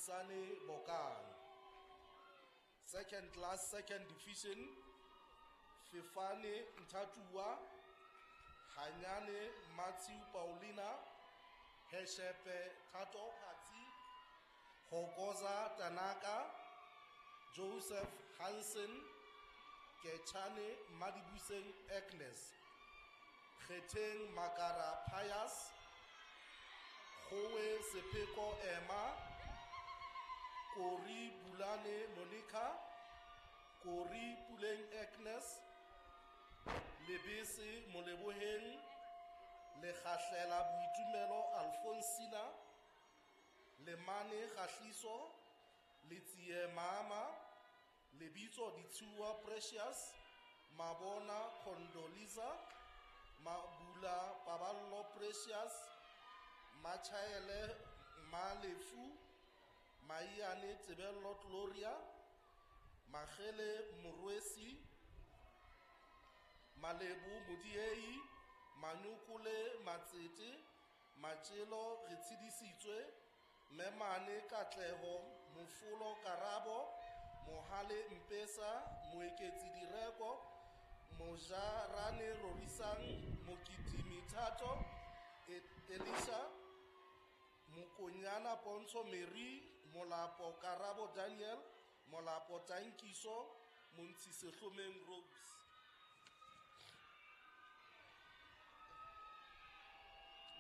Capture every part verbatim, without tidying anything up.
Thusane Bokang. Second class, second division, Fefane Nthatua, Hanyane Matthew Paulina, Heshepe Thato Phatsi, Hokoza Tanaka, Joseph Hansen, Kechane Madibuseng Agnes, Kgeteng Makara Pius, Gowe Sepeko Emma, Kori Bulane Monica, Kori Puleng Agnes, Lebese Moleboheng, Lekgahlela Boitumelo Alfonsina, Lemane Kgahliso, Letsie Mama, Lebitso Ditsua Precious, Mabona Condoleezza, Mabula Paballo Precious, Machaele Malefu, Maiane Tebello Gloria, Magele Morwesi, Malebu Modiei, Manukule Matsete, Machelo Retshidisitswe, Memane Katleho, Mofolo Karabo, Mohale Mpesa, Moeketsi Direko, Mojarane Rorisang, Mokitimi Thato, Elisha, Mokonyana Pontsho Mary, Molapo Karabo Daniel, Molapo Tankiso, Montsi Sehlomeng Rose.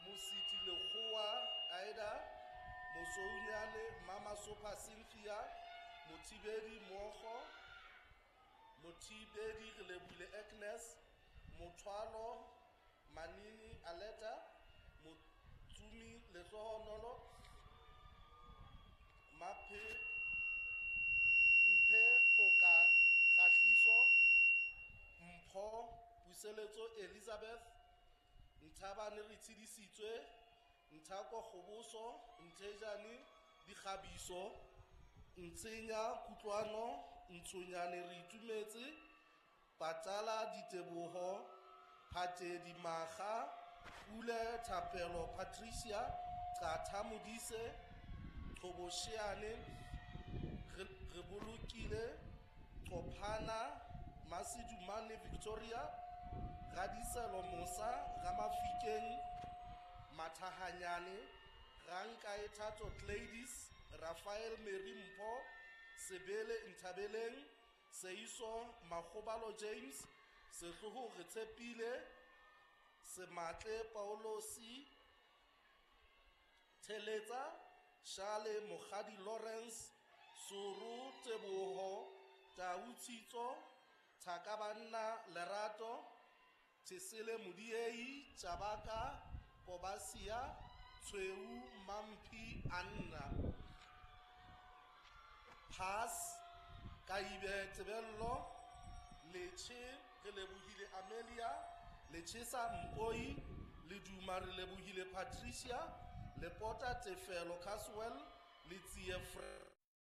Mositi Lekgowa Aida, Mosounyane Mama Sopa Cynthia, Mothibedi Mogo, Mothibedi Relebule Agnes, Mothwalo Manini Aleta, Motsumi Lehlohonolo, Maphe Mphe Phoka Kgahliso, Mpho Puseletso Elizabeth, Nthabane Re Tshedisitswe, Nthako Kgoboso, Nthejane Dikgabiso, Ntsenya Kutlwano, Ntshonyane Re Itumetse, Patala Diteboho, Phatedi Maga, Pule Thapelo Patricia, Qatha Modise, Qhobosheane, Re Bolokile, Qophana Masedumane Victoria, Radiselo Mosa, Ramafikeng Mathahanyane, Rankae Thato Gladys, Raphael Mary Mpho, Sebele Nthabeleng, Seiso Makgobalo James, Sehloho Re Tshepile, Sematle Paulosi, Theletsa, Shale Mokgadi Lawrence, Suru Teboho, Tau Tshitso, Thakabanna Lerato, Thesele Modiei, Chabaka Kobasia, Tshweu Mampi Anna. Pass, Kaibe Tebello, Leche re lebohile Amelia, Lechesa Mpoi, Leduma re lebohile Patricia, Lepota Tefelo Caswell, Letsie Fre